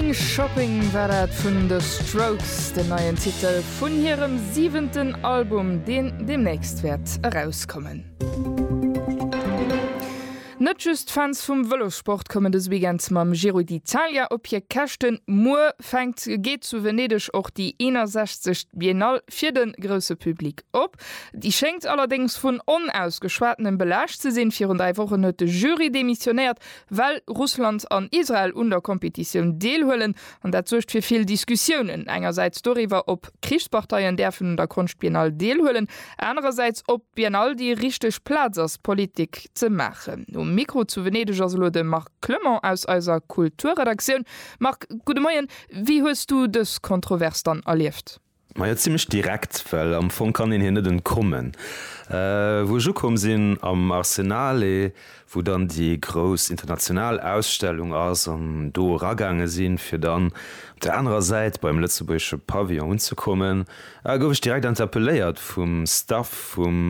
Going Shopping war dat vun The Strokes, den neien Titel vun hirem siwenten Album, deen deemnächst wäert erauskommen. Net just d'Fans vum Vëlossport kommen dëse Weekend mam Giro d'Italia op hir Käschten. Muer fänkt geet zu Venedeg och déi 61. Biennale fir de grousse Public op. Déi schéngt allerdéngs vun Onausgeschwatenem belaascht ze sinn. Virun 3 Wochen huet de Jury demissionéiert, well Russland an Israel un der Kompetitioun deelhuelen. An dat suergt fir vill Diskussiounen. Engersäits doriwwer, ob Krichsparteien däerfen un der Konschtbiennale deelhuelen, anerersäits, ob d'Biennale déi richteg Plaz ass, Politik ze maachen. Um Mikro zu Venedeg ass elo de Marc Clement aus eiser Kulturredaktioun. Marc, gudde Moien. Wéi hues du dës Kontrovers dann erlieft? Majo zimlech direkt, well am Fong kann een hir net entkommen. Wou ech ukomm sinn am Arsenale, wou dann déi grouss international Ausstellung ass, an do eragaange sinn, fir dann op der anerer Säit beim lëtzebuergesche Pavillon unzekommen, gouf ech direkt interpelléiert vum Staff vum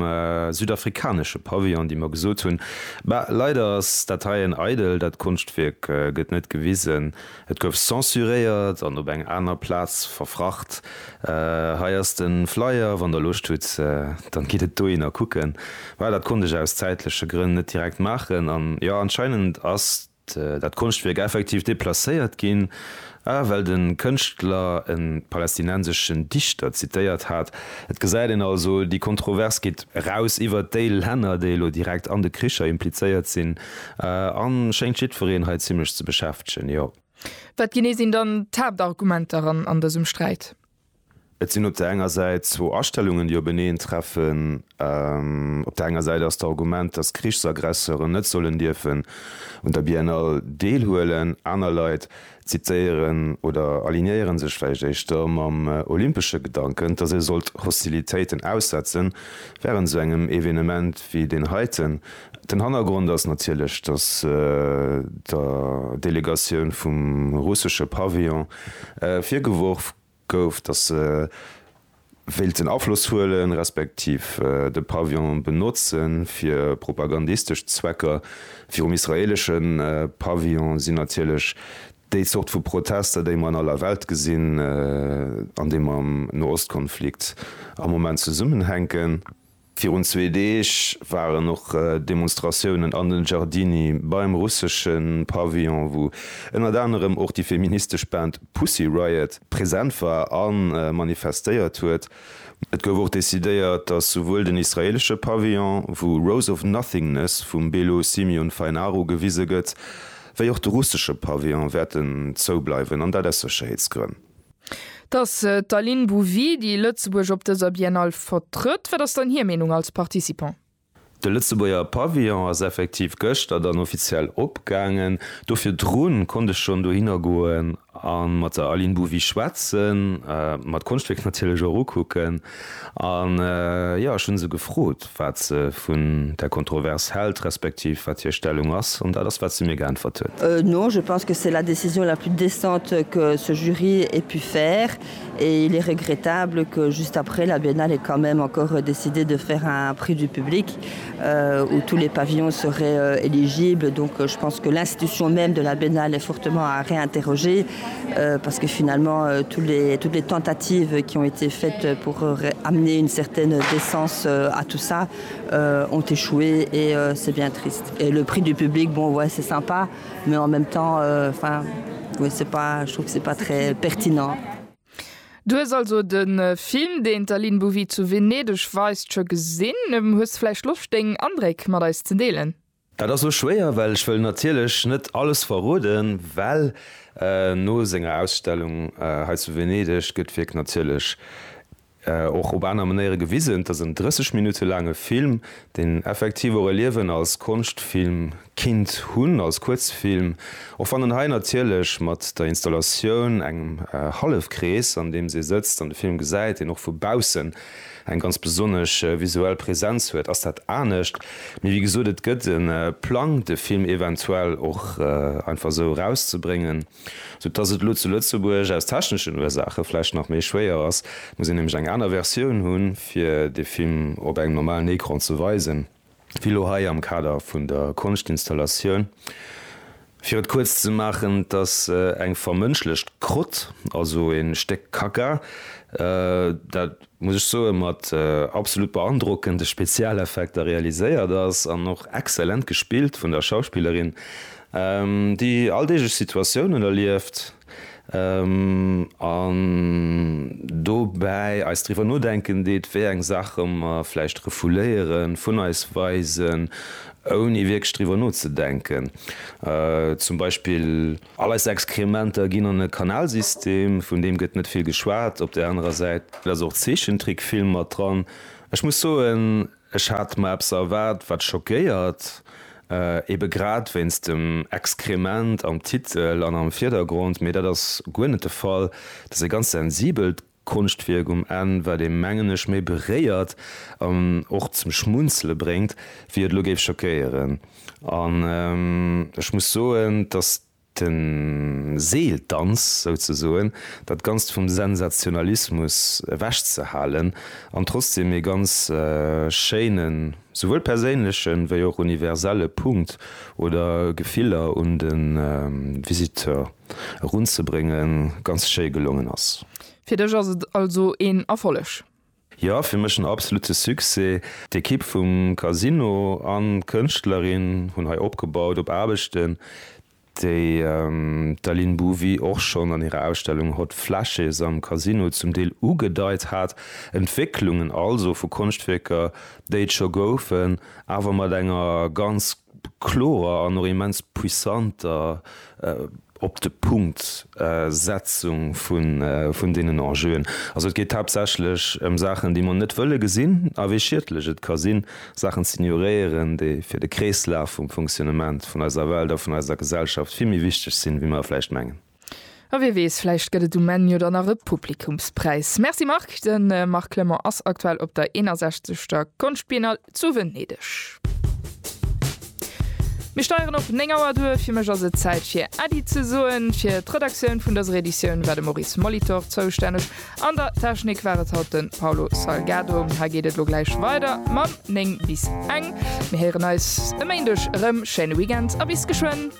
südafrikanesche Pavillon, déi mer gesot hunn, Bah, leider ass dat heien eidel, dat Konschtwierk gëtt net gewisen. Et gouf censuréiert an op eng aner Plaz verfracht. Hei ass de Flyer, wann der Loscht hutt, dann gitt et dohinner kucken. Well dat konnt ech aus zäitleche Grënn net direkt maachen. An jo, anscheinend ass dat Konschtwierk effektiv deplacéiert ginn, well de Kënschtler e palästinenseschen Dichter zitéiert hat. Et gesäit een also, déi Kontrovers geet eraus iwwert déi Länner, déi elo direkt an de Kricher implizéiert sinn. An schéngt jiddwereen hei zimlech ze beschäftegen, jo. Wat genee sinn dann d'Haaptargumenter an dësem Sträit? Et sinn op der enger Säit zwou Astellungen, déi openeen treffen. Op der enger Säit ass d'Argument, datt Krichsaggresseuren net sollen dierfen un der Biennale deelhuelen. Aner Leit zitéieren oder alignéieren sech vläicht éischter mam olympesche Gedanken, datt ee sollt Hostilitéiten aussetzen wärend esou engem Evenement wéi deen heiten. Den Hannergrond ass natierlech, datt der Delegatioun vum russesche Pavillon virgeworf gouf, datt se wéilten Afloss huelen, respektiv de Pavillon benotze fir propagandistesch Zwecker. Virum israeelesche Pavillon sinn natierlech déi Zort vu Protester, déi mer an aller Welt gesinn an déi mam Noostkonflikt am Moment zesummenhänken. Virun zwee Deeg waren och Demonstratiounen an den Giardini beim russesche Pavillon, wou ënnert anerem och déi feministesch Band Pussy Riot present war a manifestéiert huet. Et gouf och decidéiert, datt souwuel den israeelesche Pavillon, wou Rose of Nothingness vum Belo Simeon Fainaru gewise gëtt, wéi och de russesche Pavillon wäerten zoubleiwen, an dat aus Sécherheetsgrënn. Et ass d'Aline Bouvy, déi Lëtzebuerg op dëser Biennale vertrëtt. Wat ass dann hir Meenung als Participant? De Lëtzebuerger Pavillon ass effektiv gëschter dann offiziell opgaangen. Do virdrun konnt ech schonn dohinner goen a mat der Aline Bouvy schwätzen, mer d'Konschtwierk natierlech och ukucken. An jo, ech hu se gefrot, wat se vun där Kontrovers hält, respektiv wat hir Stellung ass. An dat ass, wat se mir geäntwert huet. Non, je pense que c'est la décision la plus décente que ce jury ait pu faire et il est regrettable que juste après la Biennale ait quand même encore décidé de faire un prix du public euh, où tous les pavillons seraient euh, éligibles. Donc euh, je pense que l'institution même de la Biennale est fortement à réinterroger euh, parce que finalement euh, tous les, toutes les tentatives qui ont été faites pour euh, amener une certaine décence euh, à tout ça euh, ont échoué et euh, c'est bien triste. Et le prix du public bon ouais, c'est sympa, mais en même temps enfin euh, ouais, c'est pas je trouve que c'est pas très pertinent. Du hues also de Film, deen d'Aline Bouvy zu Venedeg weist, scho gesinn. Hues de vläicht Loscht, deng Andréck mat eis ze deelen? Dat ass lo schwéier, well ech wëll natierlech net alles verroden, well no senger Ausstellung hei zu Venedeg gëtt d'Wierk natierlech och op aner Manéiere gewisen. Et ass en 30 Minutte laange Film, deen effektiv och e Liewen als Konschtfilm kinnt hunn, als Kuerzfilm, och wann en hei natierlech mat der Installatioun, engem Hallefkrees, an deem se sëtzt an de Film gesäit, deen och vu baussen eng ganz besonnesch visuell Präsenz huet, ass dat anescht. Mee wéi gesot, et gëtt e Plang, de Film eventuell och einfach esou erauszebréngen, sou dass et elo zu Lëtzebuerg aus techneschen Ursaache vläicht nach méi schwéier ass. Et muss een nämlech eng aner Versioun hunn, fir de Film op engem normalen Ecran ze weisen, wéi elo hei am Kader vun der Konschtinstallatioun. Fir et kuerz ze maachen, et ass eng vermënschlecht Krott, also e Stéck Kacka, dat, muss ech soen, mat absolut beandrockende Spezialeffekter realiséiert ass an och exzellent gespillt vun der Schauspillerin, déi alldeeglech Situatiounen erlieft. An dobäi eis driwwer nodenken deet, wéi eng Saache mer vläicht refouléieren, vun eis weisen, ouni wierklech driwwer nozedenken. Zum Beispill all eis Exkrementer ginn an e Kanalsystem, vun deem gëtt net vill geschwat. Op där anerer Säit ass och Zeechentrickfilm mat dran. Ech muss soen, Ech hat mer eppes erwaart, wat schockéiert, ebe grad wéinst dem Exkrement am Titel an am Virdergrond, mee dat ass guer net de Fall. Et ass e ganz sensibelt Konschtwierk um Enn, wat ee mengen ech méi beréiert an och zum Schmunzele bréngt, wéi et elo géif schockéieren. An ech muss soen, dass De Seeldanz souzesoen, dat Ganzt vum Sensationalismus ewechzehalen an trotzdem ee ganz schéinen, souwuel perséinlechen, wéi och universelle Punkt oder Gefiller un de Visiteur erunzebréngen, ganz schéi gelongen ass. Fir dech ass et also een Erfolleg? Jo, fir mech en absolute Succès. D'Ekipp vum Casino an d'Kënschtlerin hunn hei opgebaut op Aarbechten, déi d'Aline Bouvy och schonn an hirer Ausstellung Hot Flashes am Casino zum Deel ugedeit hat. Entwécklungen also vu Konschtwierker, déi et scho goufen, awer mat enger ganz klorer an och immens puissanter op de Punkt Setzung vun deenen Enjeuen. Also et geet haaptsächlech ëm Saachen, déi mer net wëlle gesinn a wéi schiedlech et ka sinn, Saachen z'ignoréieren, déi fir de Kreeslaf vum Fonctionnement vun eiser Welt a vun eiser Gesellschaft vill méi wichteg sinn, wéi mer vläicht mengen. A wie weess, vläicht gëtt et um Enn jo dann nach e Publikumspräis. Merci Marc. De Marc Clement ass aktuell op der 61. Konschtbiennale zu Venedeg. Mir steieren op 9 Auer duer. Fir mech ass et Zäit fir Äddi ze soen. Fir d'Redaktioun vun dëser Editioun war de Maurice Molitor zoustänneg. An der Technik war et haut de Paulo Salgado. Hei geet et elo gläich weider mam 9 bis eng. Mir héieren eis e Méindeg erëm. Schéine Weekend a bis geschwënn.